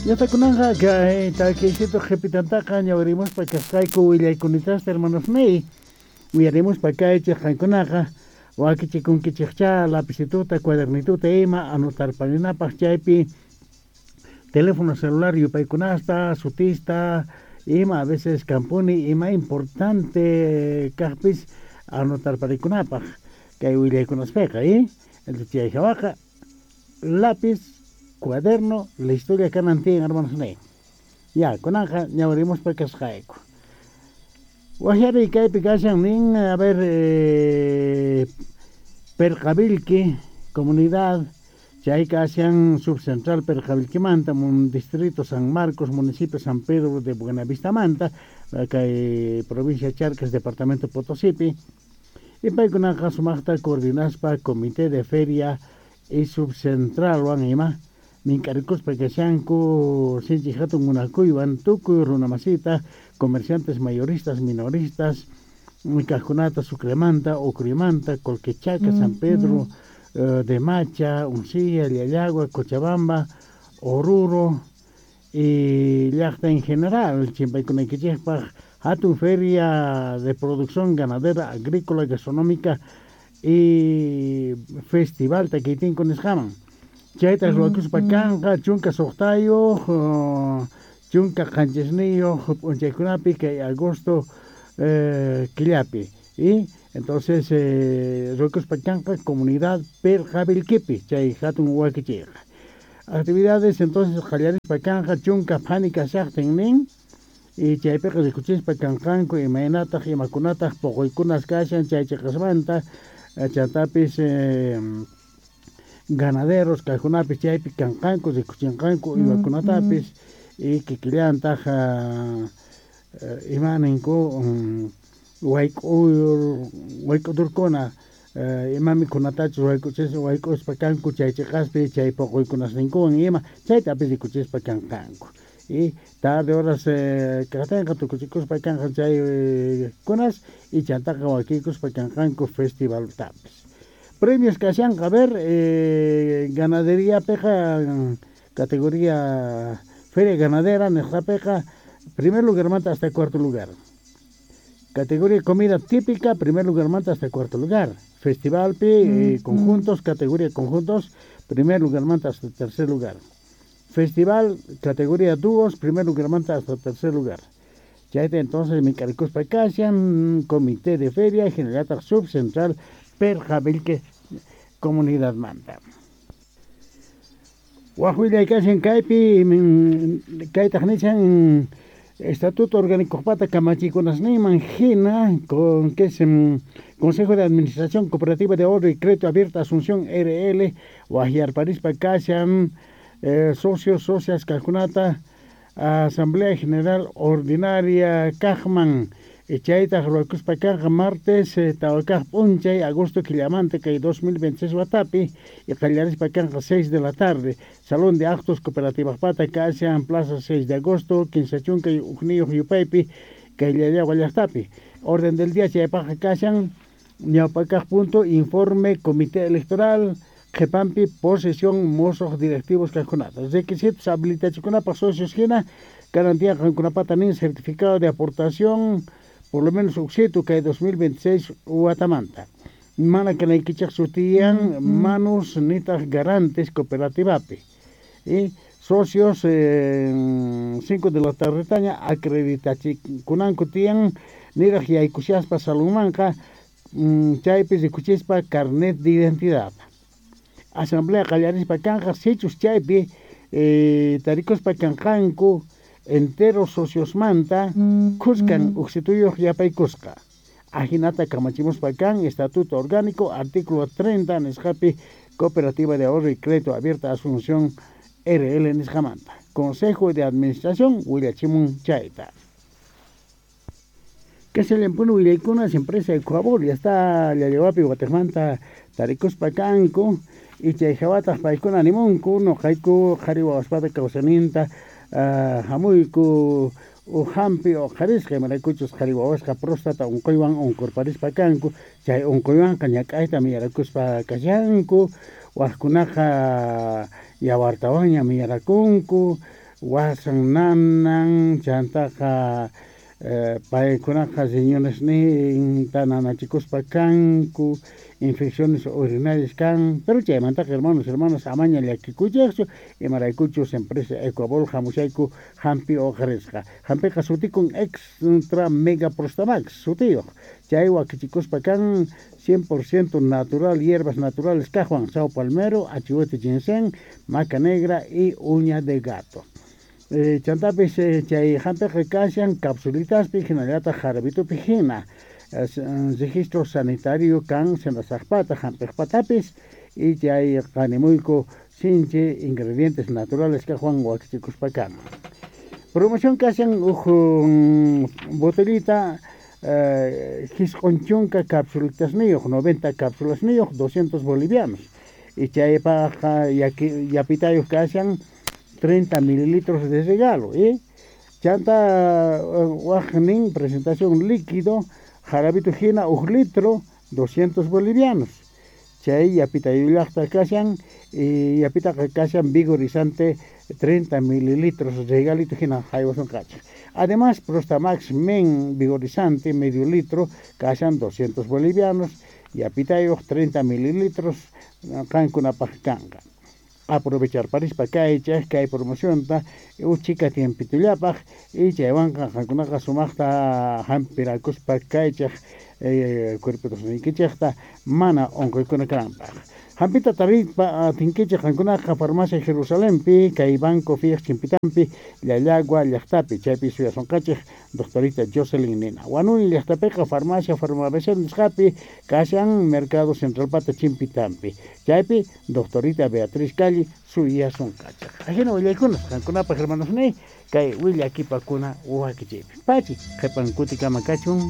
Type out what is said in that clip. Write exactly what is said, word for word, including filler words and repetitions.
Yatakunanqa kay takiysitu qhipitantaqa ñawirimuspa kasqayku willaykunitasta hermanosniy uyarimuspa kaychik qankunaqa wakichikunkichikcha lapicituta cuadernituta ima anotarparinapaq chaypi teléfono celular yupaykunasta sutista ima a veces kampuni ima importante kaqpis anotarparikunapaq kay willaykunaspiqa y entonces chay hawaqa lápiz cuaderno listolla kanan tiyan hermanos niy ya kunanqa ñawirimuspa kasqayku wajyariy kaypi kashan nin a ver eh, Perqavilqui comunidad chay kashan subcentral Perqavilquimanta distrito San Marcos municipio San Pedro de Buenavistamanta kay provincia Charcas departamento Potosipi y paykunaqa sumaqta coordinaspa comité de feria y subcentralwan ima mink'arikuspa kashanku sinchi hatun munakuywan tukuy runamasita comerciantes mayoristas minoristas kaqkunata Sucremanta Ucrimanta Colquechaca San Pedro uh, de Macha Uncía Llallagua Cochabamba Oruro y llaqta en general chimpaykunaykichikpaq hatun feria de producción ganadera agrícola gastronómica y festival takiytinku nisqaman chayta ruwakuspa kanqa chunka suqtayuq chunka qanchisniyuq p'unchaykunapi kay agosto eh, killapi y entonces eh, ruwakuspa kanqa comunidad Perqavilquipi chay hatun wakichiyqa actividades entonces qallarispa kanqa chunka phani kashaqtin nin y chaypiqa rikuchispa kanqanku imaynataq imakunataq puquykunas kashan chay chiqasmanta chantapis eh, ganaderos kaqkunapis chaypi kanqanku rikuchinqanku uywakunatapis y kikillantaq uh, ima ninku um, wayk'uyur wayk'udurkuna uh, ima mikhunatachus wayk'uchis wayk'uspa kanku chay chiqaspi chay puquykunasninkuwan ima chaytapis rikuchispa kanqanku y tarde horas eh, kaqtinqa tukuchikuspa kanqa chay eh, kunas y chantaqa wakiykuspa kanqanku festivaltapis premios kashanqa a ver eh, ganadería peqa categoría feria ganadera nisqapiqa primer lugarmanta hasta cuarto lugar categoría comida típica primer lugarmanta hasta cuarto lugar festival pi eh, conjuntos categoría conjuntos primer lugarmanta hasta tercer lugar festival categoría dúos primer lugarmanta hasta tercer lugar chayta entonces mink'arikuspa kashan comité de feria general subcentral Perqavilque comunidad manta waj willay kashan kaypi kaytaq nishan Estatuto Orgánico pata kamachiykunasninman hina con que es Consejo de Administración Cooperativa de Ahorro y Crédito Abierta Asunción R L wajyarparispa kashan eh, socios socias kaqkunata Asamblea General Ordinaria kaqman chaytaq ruwakuspa kanqa martes eh, tawa kaq p'unchay agosto killamanta kay dos mil veintiséis watapi y qallarispa kanqa seis de la tarde Salón de Actos Cooperativajpata kashan Plaza seis de agosto kinsa chunka ujniyuq yupaypi kay Llallagua llaqtapi orden del día chaypaqqa kashan ñawpa kaq punto informe comité electoral qhipanpi posesión musuq directivos kaqkunata requisitos habilitachikunapaq socios hina garantía qankunapata nin certificado de aportación por lo menos uksitu kay dos mil veintiséis watamanta mana kanaykichik sutiyan manus nitaq garantes cooperativapi y socios eh, cinco de la tarde acreditachikunanku tiyan niraq yaykushaspa salonmanqa mm, chaypi rikuchispa carnet de identidad asamblea qallarispa kanqa sichus chaypi eh, tarikuspa kanqanku entero sociosmanta khuskan uksituyuq yapaykusqa ajinata kamachimuspa kan Estatuto Orgánico artículo treinta nisqapi Cooperativa de Ahorro y Crédito Abierta Asunción R L nisqamanta Consejo de Administración willachimun chayta Kashallanpuni willaykunas empresa Ecuabol ya está Llallawapi watejmanta tarikuspa kanku y chay hawataq paykuna nimunku nuqayku qhari wawaspata kawsayninta uh, hamuyku uhampi uqharisqa imaraykuchus qhari wawasqa próstata unquywan unqurparispa kanku chay unquywanqa ñak'ayta miyarakuspa kashanku waqkunaqa yawartawanña miyarakunku Wasan nanan, chantaqa paykunaqa riñonesninta nanachikuspa kanku, infecciones urinarias kan, pero chaymantaqa hermanos, hermanas amaña llakikuychikchu, imaraykuchus empresa Ecuabol hamushayku hampi uqarisqa. Hampiqa sutikun Extra Mega Prostamax sutiyuq, chay wakichikuspa kan cien por ciento natural, hierbas naturales kaqwan, sao palmero, achihuete ginseng, maca negra y uña de gato. Eh, chantapis eh, chay hampiqa kashan capsulitaspi hinallataq jarabitupi hina. Es, registro sanitario kan senasaqpata hampiqpatapis y chay qanimuyku sinchi ingredientes naturales kaqwan wakichikuspa kan. Promoción kashan uj botellita eh, jisq'un chunka capsulitasniyuq, noventa cápsulasniyuq, doscientos bolivianos. Y chaypaqqa yapitayuq kashan treinta mililitros de regalo, ¿eh? Chanta wajnin presentación líquido, jarabito hina uj litro, doscientos bolivianos. Chay yapitayullaqta kashan, y yapitaqa kashan vigorizante treinta mililitros regalito hina haywasunqachik. Además, Prostamax Men vigorizante medio litro kashan doscientos bolivianos, yapitayuq treinta mililitros qankunapaq kanqa. Aprovechar parispa kaychaq kay promocionta uchika tiempitullapaq y chaywanqa qankunaqa sumaqta hampirakuspa kaychaq eh, cuerpitosniykichikta mana unquykuna kananpaq. Hampita tariypa atinkichik qankunaqa farmacia Jerusalempi kay Banco Fiaj chimpitampi Llallagua llaqtapi chaypi suyasunqachik doctorita Jocelyn Nina. Huanuni llaqtapiqa farmacia Farmabc nisqapi kashan Mercado Centralpata chimpitampi chaypi doctorita Beatriz Calli suyasunqachik. Ajina willaykunas qankunapaq hermanosniy kay willakipakuna wakichiypi. Pachi qhipan kutikama kachun.